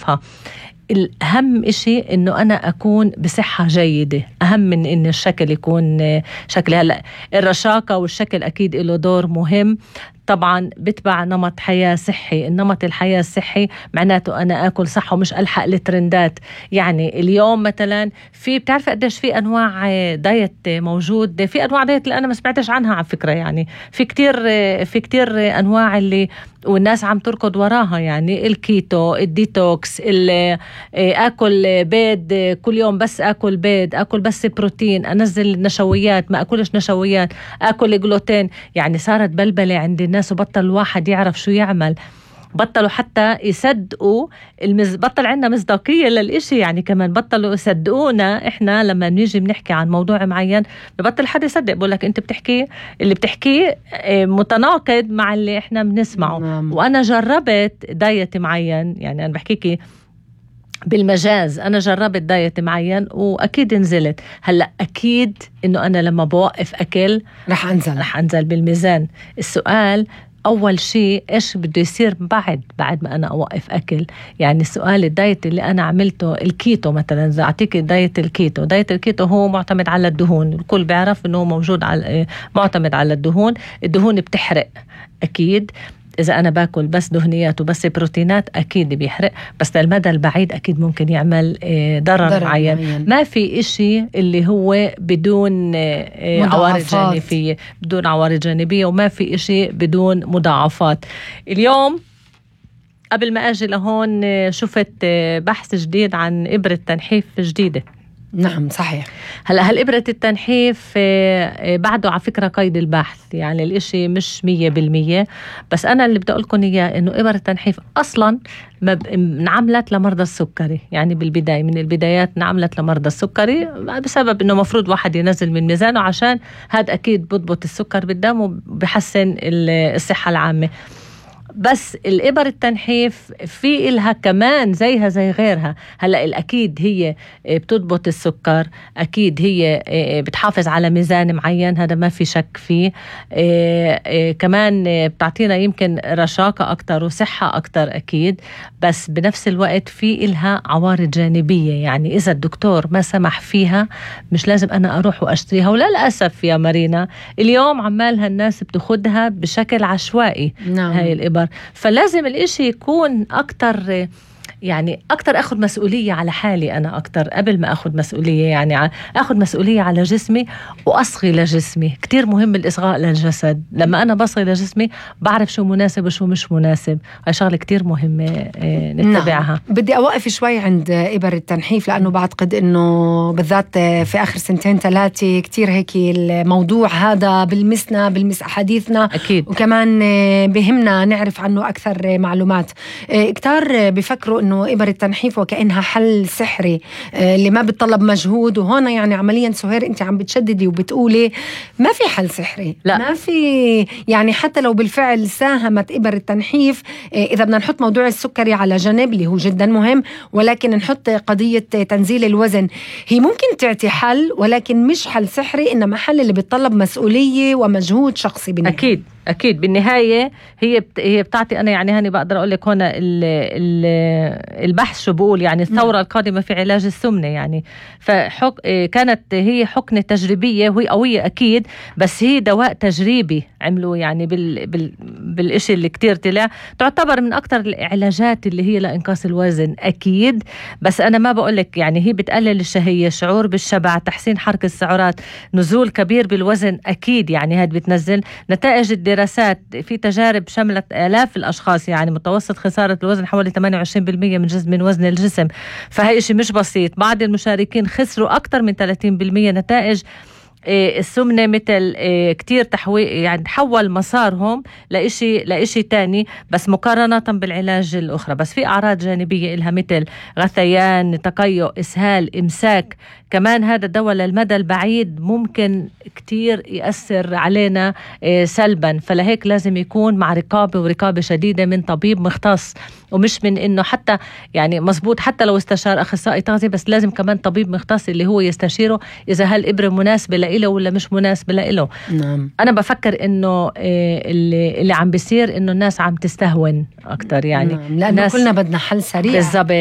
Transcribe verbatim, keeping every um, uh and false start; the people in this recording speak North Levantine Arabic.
نعرفها. الأهم إشي إنه أنا أكون بصحة جيدة، أهم من إن الشكل يكون شكلي. هلأ الرشاقة والشكل أكيد له دور مهم طبعا، بتبع نمط حياة صحي. النمط الحياة الصحي معناته أنا أكل صح ومش ألحق الترندات. يعني اليوم مثلا في بتعرف قديش في أنواع دايت موجود، في أنواع دايت اللي أنا ما سمعتش عنها على فكرة. يعني في كتير في كتير أنواع اللي والناس عم تركض وراها، يعني الكيتو، الديتوكس، أكل بيض كل يوم، بس أكل بيض، أكل بس بروتين، أنزل نشويات، ما أكلش نشويات، أكل جلوتين. يعني صارت بلبلة عند الناس وبطل الواحد يعرف شو يعمل، بطلوا حتى يصدقوا المز... بطل عندنا مصداقية للإشي. يعني كمان بطلوا يصدقونا إحنا لما نيجي بنحكي عن موضوع معين، ببطل حد يصدق، بقول لك أنت بتحكي اللي بتحكيه متناقض مع اللي إحنا بنسمعه. نعم. وأنا جربت دايت معين، يعني أنا بحكيكي بالمجاز، أنا جربت دايت معين وأكيد نزلت. هلأ أكيد إنه أنا لما بوقف أكل رح أنزل رح أنزل بالميزان. السؤال أول شيء إيش بده يصير بعد بعد ما أنا أوقف أكل؟ يعني السؤال الدايت اللي أنا عملته الكيتو مثلا، إذا أعطيك دايت الكيتو، دايت الكيتو هو معتمد على الدهون. الكل بيعرف إنه موجود على معتمد على الدهون. الدهون بتحرق أكيد، إذا أنا باكل بس دهنيات وبس بروتينات أكيد بيحرق، بس للمدى البعيد أكيد ممكن يعمل ضرر, ضرر معين. معين. ما في إشي اللي هو بدون عوارض جانبية، بدون عوارض جانبية، وما في إشي بدون مضاعفات. اليوم قبل ما أجي لهون شفت بحث جديد عن إبرة تنحيف جديدة. نعم صحيح. هلأ هالإبرة التنحيف بعده على فكرة قيد البحث، يعني الإشي مش مية بالمية، بس أنا اللي بدي أقولكم إياه إنه إبرة التنحيف أصلاً نعملت لمرضى السكري. يعني بالبداية من البدايات نعملت لمرضى السكري بسبب إنه مفروض واحد ينزل من ميزانه، عشان هذا أكيد بضبط السكر بالدم وبحسن الصحة العامة. بس الإبر التنحيف في إلها كمان زيها زي غيرها. هلأ الأكيد هي بتضبط السكر، أكيد هي بتحافظ على ميزان معين، هذا ما في شك فيه. كمان بتعطينا يمكن رشاقة أكتر وصحة أكتر أكيد، بس بنفس الوقت في إلها عوارض جانبية. يعني إذا الدكتور ما سمح فيها مش لازم أنا أروح وأشتريها. وللأسف يا مارينا اليوم عمالها الناس بتاخدها بشكل عشوائي. نعم. هاي الإبر، فلازم الإشي يكون أكتر، يعني أكتر أخذ مسؤولية على حالي أنا أكتر قبل ما أخذ مسؤولية، يعني أخذ مسؤولية على جسمي وأصغي لجسمي. كتير مهم الإصغاء للجسد. لما أنا بصغي لجسمي بعرف شو مناسب وشو مش مناسب. هاي شغلة كتير مهمة نتبعها. نعم. بدي أوقف شوي عند إبر التنحيف، لأنه بعتقد أنه بالذات في آخر سنتين ثلاثة كتير هيك الموضوع هذا بالمسنا بالمس أحاديثنا أكيد. وكمان بهمنا نعرف عنه أكثر معلومات. كتار بفكروا أنه إبر التنحيف وكأنها حل سحري اللي ما بتطلب مجهود. وهنا يعني عمليا سهير أنت عم بتشددي وبتقولي ما في حل سحري. لا. ما في، يعني حتى لو بالفعل ساهمت إبر التنحيف، إذا بدنا نحط موضوع السكري على جنب اللي هو جدا مهم، ولكن نحط قضية تنزيل الوزن، هي ممكن تعطي حل ولكن مش حل سحري، إنما حل اللي بيتطلب مسؤولية ومجهود شخصي بالنهاية. أكيد أكيد بالنهاية هي بت... هي بتعطي. أنا يعني هني بقدر أقول لك هنا ال... ال... البحث شو بقول، يعني الثورة م. القادمة في علاج السمنة. يعني فحك... كانت هي حقنة تجريبية وهي قوية أكيد، بس هي دواء تجريبي عملوا يعني بال... بال... بالإشي اللي كتير طلع، تعتبر من أكتر العلاجات اللي هي لإنقاص الوزن أكيد. بس أنا ما بقول لك يعني هي بتقلل الشهية، شعور بالشبع، تحسين حركة السعرات، نزول كبير بالوزن أكيد. يعني هاد بتنزل نتائج دراسات في تجارب شملت آلاف الأشخاص، يعني متوسط خسارة الوزن حوالي ثمانية وعشرين بالمية من جزء من وزن الجسم. فهي شيء مش بسيط. بعض المشاركين خسروا أكثر من ثلاثين بالمية نتائج السمنة، مثل كتير تحوي يعني تحول مسارهم لإشي لإشي تاني، بس مقارنة بالعلاج الأخرى. بس في أعراض جانبية إلها مثل غثيان، تقيؤ، إسهال، إمساك. كمان هذا الدواء للمدى البعيد ممكن كتير يأثر علينا سلبا، فلهيك لازم يكون مع رقابة ورقابة شديدة من طبيب مختص، ومش من إنه حتى يعني مزبوط حتى لو استشار أخصائي تغذية، بس لازم كمان طبيب مختص اللي هو يستشيره إذا هالإبرة مناسبة لإله ولا مش مناسبة لإله. نعم. أنا بفكر إنه اللي, اللي عم بيصير إنه الناس عم تستهون أكتر، يعني نعم. لأنه كلنا بدنا حل سريع بالضبط.